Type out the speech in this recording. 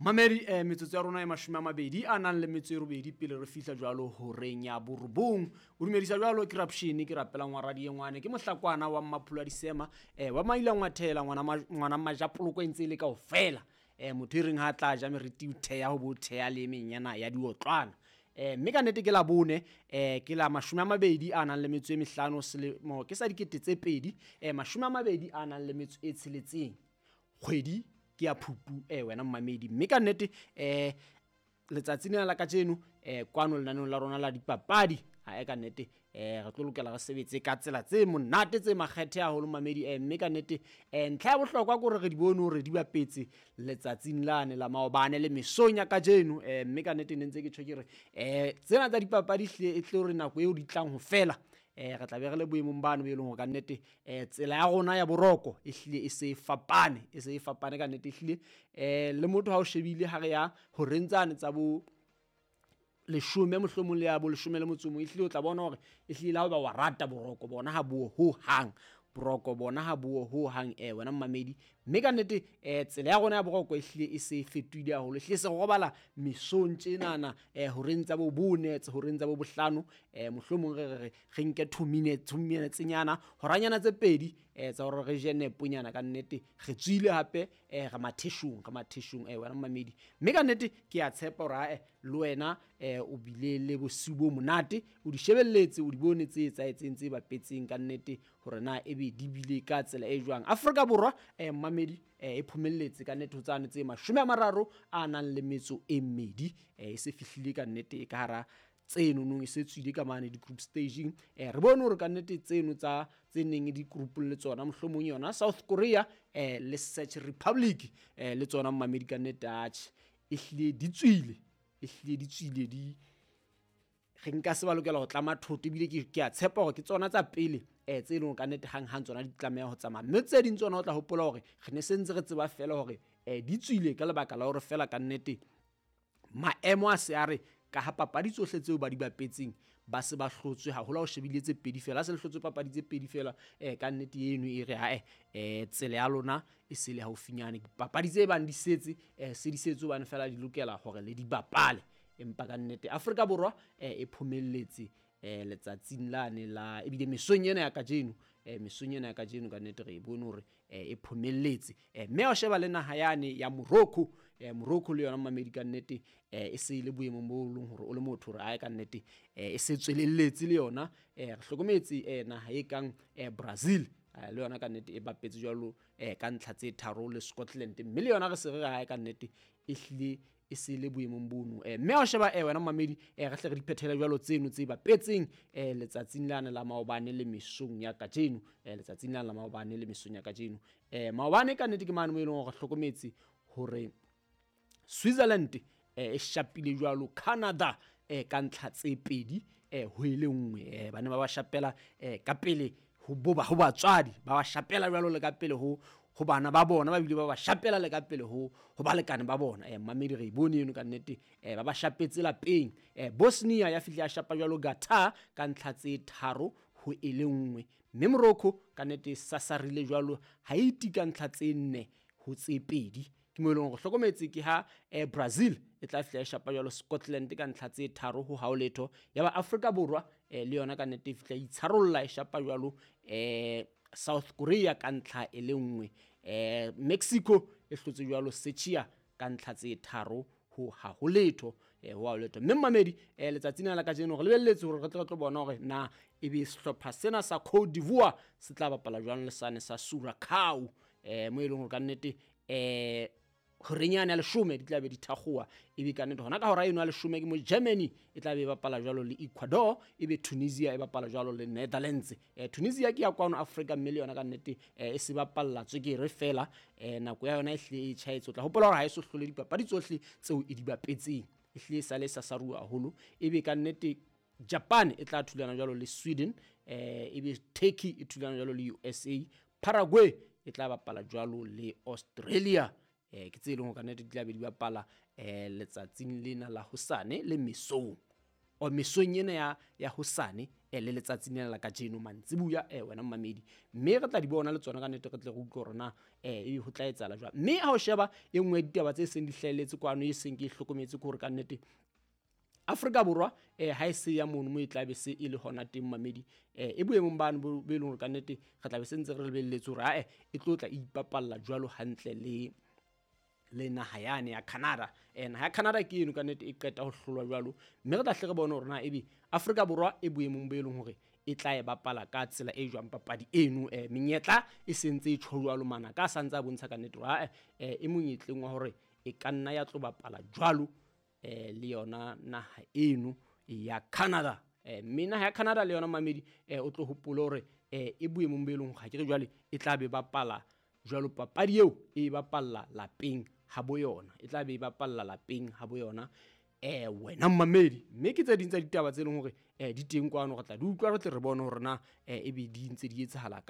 Mamedi metsotso ya rona e 28 pele re fihla jwalo horeng ya borobong. O dumedisa jwalo ke Rapshini, ke rapelang wa radio ngwane, ke mohlakwana wa Mmaphula Disema, wa maila ngwathela ngwana majapoloko e ntse le kaofela. Motho e reng ha tla ja meriti o theha ho bo theha le menyana ya diotlwana. Mme ka nnete ke la bone, ke la 25 selemo ke sa 2026. Kgwedi ke ya Phupu wena mmamedi. Mme ka nnete letsatsi lena la kajeno kwano lenaneong la rona la dipapadi ha e ka nnete re tlo lokela re sebetse ka tsela tse monate tse makgethe haholo mmamedi. Mme ka nnete ntlha ya bohlokwa ke hore re di bone hore di bapetse letsatsing lane la maobane le mesong ya kajeno. Mme ka nnete ne ntse ke tjho ke re tsena tsa dipapadi hle e tle hore nako eo di tlang ho fela re tla be re le boemong bano bo e leng hore ka nnete tsela ya rona ya boroko e hlile e se e fapane, e se e fapane ka nnete ehlile. Le motho ha o shebile ha re ya horeng tsane tsa bo 10 mohlomong le ya bo 11 ehlile o tla bona hore ehlile ha o ba wa rata boroko bona ha bo ho hang, boroko bona ha bo ho hang wena mmamedi. Mme ka nnete tsela ya rona ya boroko ehlile e se e fetohile haholo, ehlile se robala mesong tjenana horeng tsa bo 4, horeng tsa bo 5, mohlomong re re nke 2 minutes, 2 minutes nyana, horanyana tse pedi tsa hore re je neponyana ka nnete. Re tswile hape re matheshong, re matheshong wena mmamedi. Mme ka nnete ke a tshepa hore ae le wena o bile le bosiu bo monate, o di shebelletse, o di bone tse etsahetseng tse bapetseng ka nnete hore na ebe di bile ka tsela e jwang. Afrika Borwa mmamedi e phomelletse ka nnete ho tsane tse 32 e se fihlile ka nnete e ka hara tseno nong e se tswile ka mane di-group staging. Re bone hore ka nnete tseno tsa tse neng di group le tsona mohlomong yona South Korea le Czech Republic le tsona mmamedi ka nnete atjhe ehlile di tswile, ehlile di tswile di re nka se ba lokela ho tlama thoto ebile ke a tshepa hore ke tsona tsa pele tse leng ka nnete hang hang tsona di tlameha ho tsamaya. Mme tse ding tsona o tla hopola hore re ne se ntse re tseba fela hore di tswile ka lebaka la hore fela ka nnete maemo a se a re ka ha papadi tsohle tseo ba di bapetseng ba se ba hlotswe haholo ha o shebile tse pedi fela, ha se le hlotswe papadi tse pedi fela ka nnete eno e re hae tsela ya lona e se le haufinyane. Papadi tse bang di setse se di setse hobane fela di lokela hore le di bapale. Empa ka nnete Afrika Borwa e phomelletse letsatsing lane la ebile mesong ena ya kajeno, mesong ena ya kajeno ka nnete re e bone hore e phomelletse. Mme ha o sheba le naha yane ya Morocco, Morocco le yona mmamedi ka nnete e se le boemong bo leng hore o le motho hore ae ka nnete e se tswelelletse le yona. Re hlokometse naha e kang Brazil le yona ka nnete e bapetse jwalo ka ntlha tse 3 le Scotland, mme le yona re se re ae ka nnete ehlile e se le boemong bono. Mme ha o sheba wena mmamedi re hle re di phethele jwalo tseno tse bapetseng letsatsing lane la maobane le mesong ya kajeno, letsatsing lane la maobane le mesong ya kajeno. Maobane ka nnete ke mane mo e leng hore re hlokometse hore Switzerland e shapile jwalo Canada ka ntlha tse 2 ho e le 1. Ba ne ba ba shapela ka pele ho boba ho batswadi, ba ba shapela jwalo le ka pele ho bana ba bona, ba bile ba ba shapela le ka pele ho balekane ba bona. Mmamedi re bone eno ka nnete ba ba shapetse lapeng. Bosnia ya fihla ya shapa jwalo Qatar ka ntlha tse 3 ho e le 1, mme Morocco ka nnete sasarile jwalo Haiti ka ntlha tse 4 ho tse 2. Ke mo e leng hore hlokometse ke ha Brazil e tla fihla ya shapa jwalo Scotland ka ntlha tse 3 ho hao letho. Ya ba Afrika Borwa le yona ka nnete e fihla itsharolla e shapa jwalo South Korea ka ntlha e le 1. Mexico e hlotse jwalo Czechia ka ntlha tse 3 ho ha ho letho, ho ha letho. Mme mmamedi letsatsing la kajeno re lebelletse hore re tle re tlo bona hore na ebe sehlopha sena sa Cote d'Ivoire se tla bapala jwang le sane sa Curacao, mo e leng hore ka nnete horenyana ya 10 di tla be di thakgowa, ebe ka nnete hona ka hora eno ya 10 ke mo Germany e tla be e bapala jwalo le Ecuador, ebe Tunisia e bapala jwalo le Netherlands. Tunisia ke ya kwano Afrika, mme le yona ka nnete e se bapalla tswekere fela, nako ya yona e hlile e tjhaetse. O tla hopola hore ha e so hlole dipapadi tsohle tseo e di bapetseng, e hlile e sale e sasaruwa haholo. Ebe ka nnete Japan e tla thulana jwalo le Sweden, ebe Turkey e thulana jwalo le USA, Paraguay e tla bapala jwalo le Australia. Ke tse leng hore ka nnete di tla be di bapala letsatsing lena la hosane le mesong. O mesong ena ya hosane le letsatsing lena la kajeno mantsibuya wena mmamedi. Mme re tla di bona le tsona ka nnete, re tle re utlwe hore na ebe ho tla etsahala jwang. Mme ha o sheba e nngwe ya ditaba tse seng di hlahelletse kwano, e seng ke e hlokometse ke hore ka nnete Afrika Borwa ha e se ya mono mo e tla be se e le hona teng mamedi, e boemong bano bo e leng hore ka nnete re tla be se ntse re lebelletse hore ae e tlo tla ipapalla jwalo hantle le naha yane ya Canada. Naha ya Canada ke eno ka nnete e qeta ho hlolwa jwalo, mme re tla hle re bone hore na ebe Afrika Borwa e boemong bo e leng hore e tla e bapala ka tsela e jwang papadi eno. Menyetla e sentse e tjho jwalo, mana ka santse a bontsha ka nnete hore ae e monyetleng wa hore e ka nna ya tlo bapala jwalo le yona naha eno ya Canada. Mme naha ya Canada le yona mamedi, o tlo hopole hore e boemong bo e leng hore ha ke re jwale e tla be bapala jwalo papadi eo e bapalla lapeng ha bo yona, e tla be e bapalla lapeng ha bo yona wena mmamedi. Mme ke tse ding tsa ditaba tse leng hore di teng kwano, re tla di utlwa, re tle re bone hore na ebe di ntse di etsahala ka